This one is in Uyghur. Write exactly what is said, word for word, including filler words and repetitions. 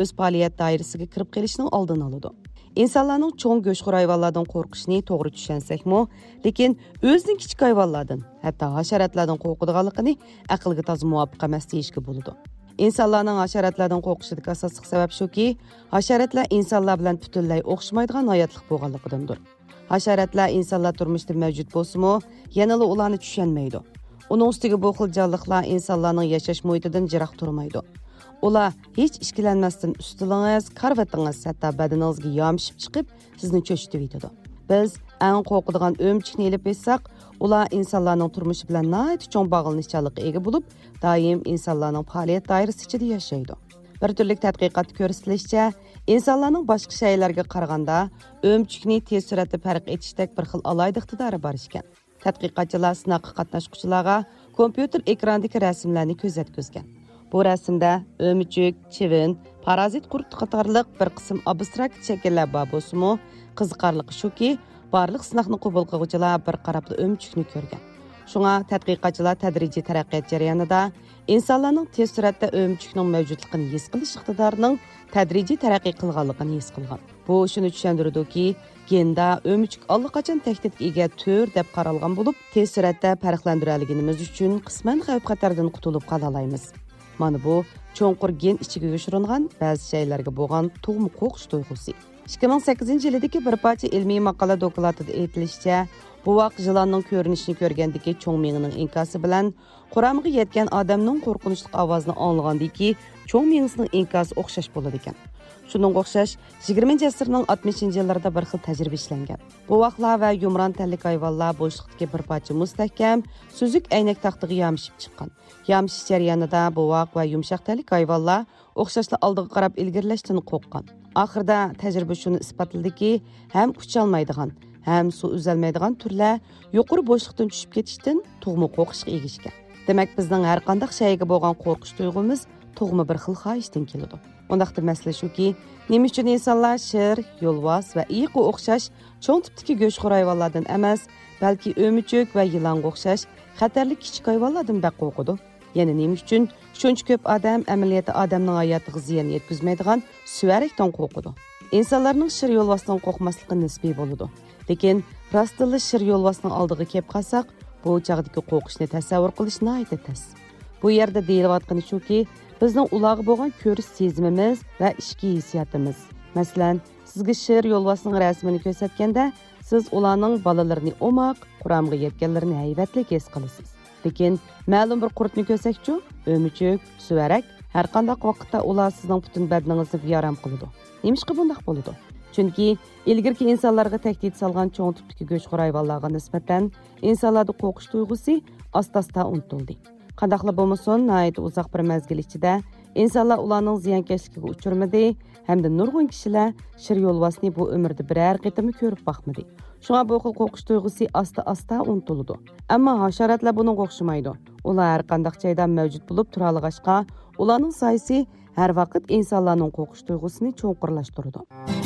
ئۆز پائالىيەت دائىرىسىگە كىرىپ قېلىشنىڭ ئالدىنى ئالىدۇ. ئىنسانلارنىڭ چوڭ گۆشخور ھايۋانلاردىن قورقۇشىنى توغرا چۈشەنسەكمۇ، لېكىن ئۆزىنىڭ كىچىك ھايۋانلاردىن، ھەتتا ھاشاراتلاردىن قورقىدىغانلىقىنى ئەقىلگە تازا مۇۋاپىق ئەمەس دېيىشكە بولىدۇ. ئىنسانلارنىڭ ھاشاراتلاردىن قورقۇشىدىكى ئاساسلىق سەۋەب شۇكى، ھاشاراتلار ئىنسانلار بىلەن پۈتۈنلەي ئوخشىمايدىغان ھاياتلىق بولغانلىقىدىندۇر. ھاشاراتلار ئىنسانلار تۇرمۇشىدا مەۋجۇت بولسىمۇ، يەنىلا ئۇلارنى چۈشەنمەيدۇ. ئۇنىڭ ئۈستىگە بۇ خىل جانلىقلار ئىنسانلارنىڭ ياشاش مۇھىتىدىن يىراق تۇرمايدۇ. ئۇلار ھېچ ئىككىلەنمەستىن ئۈستىلىڭىز، كارىۋىتىڭىز، ھەتتا بەدىنىڭىزگە يامىشىپ چىقىپ، سىزنى چۆچۈتۈۋېتىدۇ. بىز ئەڭ قورقىدىغان ئۆمۈچۈكنى ئېلىپ ئېيتساق، ئۇلار ئىنسانلارنىڭ تۇرمۇشى بىلەن ناھايىتى چوڭ باغلىنىشچانلىققا ئىگە بولۇپ، دائىم ئىنسانلارنىڭ پائالىيەت دائىرىسى ئىچىدە ياشايدۇ. بىر تۈرلۈك تەتقىقاتتا كۆرسىتىلىشىچە، ئىنسانلارنىڭ باشقا شەيئىلەرگە قارىغاندا ئۆمۈچۈكنى تېز سۈرئەتتە پەرق ئېتىشتەك بىر خىل ئالاھىدە ئىقتىدارى بار ئىكەن. تەتقىقاتچىلار سىناققا قاتناشقۇچىلارغا كومپيۇتېر ئېكراندىكى رەسىملەرنى كۆزەتكۈزگەن. بۇ رەسىمدە ئۆمۈچۈك، چىۋىن، پارازىت قۇرت قاتارلىق بىر قىسىم ئابستراكت شەكىللەر بار بولسىمۇ، قىزىقارلىقى شۇكى، بارلىق سىناقنى قوبۇل قىلغۇچىلار بىر قاراپلا ئۆمۈچۈكنى كۆرگەن. شۇڭا تەتقىقاتچىلار تەدرىجىي تەرەققىيات جەريانىدا ئىنسانلارنىڭ تېز سۈرئەتتە ئۆمۈچۈكنىڭ مەۋجۇتلۇقىنى ھېس قىلىش ئىقتىدارىنىڭ تەدرىجىي تەرەققىي قىلغانلىقىنى ھېس قىلغان. بۇ شۇنى چۈشەندۈرىدۇكى، گېندا ئۆمۈچۈك ئاللىقاچان تەھدىتكە ئىگە تۈر دەپ قارالغان بولۇپ، تېز سۈرئەتتە پەرقلەندۈرەلىگىنىمىز ئۈچۈن قىسمەن خەۋپ-خەتەردىن قۇتۇلۇپ قالالايمىز. مانا بۇ چوڭقۇر گېن ئىچىگە يوشۇرۇنغان بەزى شەيئىلەرگە بولغان تۇغما قورقۇش تۇيغۇسى. ئىككى مىڭ سەككىزىنچى يىلىدىكى بىر پارچە ئىلمىي ماقالە دوكلاتىدا ئېيتىلىشىچە، بوۋاق يىلاننىڭ كۆرۈنۈشىنى كۆرگەندىكى چوڭ مېڭىنىڭ ئىنكاسى بىلەن قۇرامىغا يەتكەن ئادەمنىڭ قورقۇنچلۇق ئاۋازىنى ئاڭلىغاندىكى چوڭ مېڭىسىنىڭ ئىنكاسى ئوخشاش بولىدىكەن. شۇنىڭغا ئوخشاش، يىگىرمىنچى ئەسىرنىڭ ئاتمىشىنچى يىللىرىدا بىر خىل تەجرىبە ئىشلەنگەن. بوۋاقلار ۋە يۇمران تەنلىك ھايۋانلار بوشلۇقتىكى بىر پارچە مۇستەھكەم، سۈزۈك ئەينەك تاختىغا يامىشىپ چىققان. يامىشىش جەريانىدا بوۋاق ۋە يۇمشاق تەنلىك ھايۋانلار ئوخشاشلا ئالدىغا قاراپ ئىلگىرىلەشتىن قورققان. ئاخىرىدا تەجرىبە شۇنى ئىسپاتلىدىكى، ھەم ئۇچالمايدىغان، ھەم سۇ ئۈزەلمەيدىغان تۈرلەر يۇقىرى بوشلۇقتىن چۈشۈپ كېتىشتىن تۇغما قورقۇشقا ئىگە ئىكەن. دېمەك، بىزنىڭ ھەر قانداق شەيئىگە بولغان قورقۇش تۇيغۇمىز تۇغما بىر خىل خاھىشتىن كېلىدۇ. ئۇنداقتا مەسىلە شۇكى، نېمە ئۈچۈن ئىنسانلار شىر، يولۋاس ۋە ئېيىققا ئوخشاش چوڭ تىپتىكى گۆشخور ھايۋانلاردىن ئەمەس، بەلكى ئۆمۈچۈك ۋە يىلانغا ئوخشاش خەتەرلىك كىچىك ھايۋانلاردىن بەك قورقىدۇ؟ يەنە نېمە ئۈچۈن شۇنچە كۆپ ئادەم ئەمەلىيەتتە ئادەمنىڭ ھاياتىغا زىيان يەتكۈزمەيدىغان سۈۋەرەكتىن قورقىدۇ؟ ئىنسانلارنىڭ شىر يولۋاستىن قورقماسلىقى نىسپىي بولىدۇ. لېكىن راستتىنلا شىر يولۋاسنىڭ ئالدىغا كېلىپ قالساق، بۇ چاغدىكى قورقۇشنى تەسەۋۋۇر قىلىش ناھايىتى تەس. بۇ يەردە دېيىلىۋاتقىنى شۇكى، بىزنىڭ ئۇلارغا بولغان كۆرۈش سېزىمىمىز ۋە ئىچكى ھېسسىياتىمىز. مەسىلەن، سىزگە شىر يولۋاسنىڭ رەسىمىنى كۆرسەتكەندە، سىز ئۇلارنىڭ بالىلىرىنى ئوماق، قۇرامىغا يەتكەنلىرىنى ھەيۋەتلىك ھېس قىلىسىز. لېكىن مەلۇم بىر قۇرتنى كۆرسەكچۇ، ئۆمۈچۈك، سۈۋەرەك، ھەر قانداق ۋاقىتتا ئۇلار سىزنىڭ پۈتۈن بەدىنىڭىزنى بىئارام قىلىدۇ. نېمىشقا بۇنداق بولىدۇ؟ چۈنكى ئىلگىرىكى ئىنسانلارغا تەھدىت سالغان چوڭ تىپتىكى گۆشخور ھايۋانلارغا نىسبەتەن ئىنسانلاردا قورقۇش تۇيغۇسى ئاستا-ئاستا ئۇنتۇلدى. قانداقلا بولمىسۇن، ناھايىتى ئۇزاق بىر مەزگىل ئىچىدە ئىنسانلار ئۇلارنىڭ زىيانكەشلىكىگە ئۇچرىمىدى ھەمدە نۇرغۇن كىشىلەر شىر يولۋاسنى بۇ ئۆمرىدە بىرەر قېتىممۇ كۆرۈپ باقمىدى. شۇڭا بۇ خىل قورقۇش تۇيغۇسى ئاستا-ئاستا ئۇنتۇلىدۇ. ئەمما ھاشاراتلار بۇنىڭغا ئوخشىمايدۇ. ئۇلار ھەر قانداق جايدا مەۋجۇت بولۇپ تۇرالىغاچقا، ئۇلارنىڭ سايىسى ھەر ۋاقىت ئىنسانلارنىڭ قورقۇش تۇيغۇسىنى چوڭقۇرلاشتۇرىدۇ.